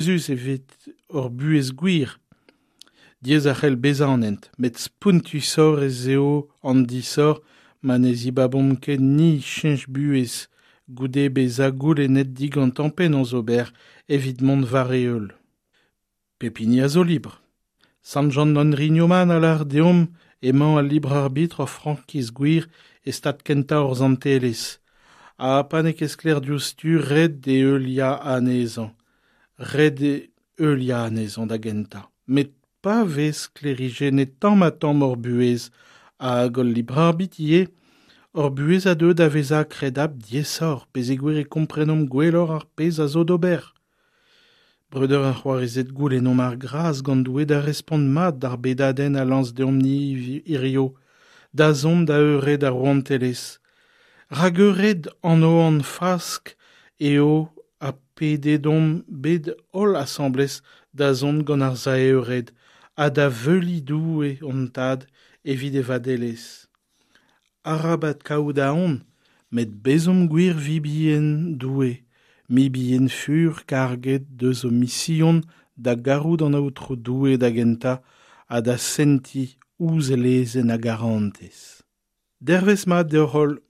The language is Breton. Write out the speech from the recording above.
Jezuz evit hor buhez gwir. Diaes a c'hell bezañ an hent, met spontusoc'h ez eo an disoc'h ma ne zibabomp ket ni cheñch buhez goude bezañ goulennet digantañ penaos ober evit mont war e heul. Pep hini a zo libr. Sant Jan Henri Newman a lâr deomp emañ al libr arbitr ur frankiz gwir e stad kentañ hor santelezh. Ha pa n'eo ket sklaer diouzhtu ret eo heuliañ anezhañ. Ret eo heuliañ anezhañ da gentañ. Met pa vez sklêrijennet tamm-ha-tamm hor buhez hag hol libr arbitr ivez, hor buhez a deu da vezañ kredabl diaesoc'h peogwir e komprenomp gwelloc'h ar pezh a zo d'ober. Breudeur ha c'hoarezed goulennomp ar gras gant Doue da respont mat d'ar bedadenn a lañs deomp-ni hirio, da zont da eured ar rouantelezh. Rak eured an Oan Fask eo ha pedet omp bet holl asambles da zont gant ar sae-eured ha da veuliñ Doue hon Tad evit e vadelezh. Arabat kaout aon, met bezomp gwir vibien Doue, mibien fur karget deus o mision da garout an Aotrou Doue da gentañ ha da sentiñ ouzh e lezenn a garantez. Dervezh mat deoc'h-holl.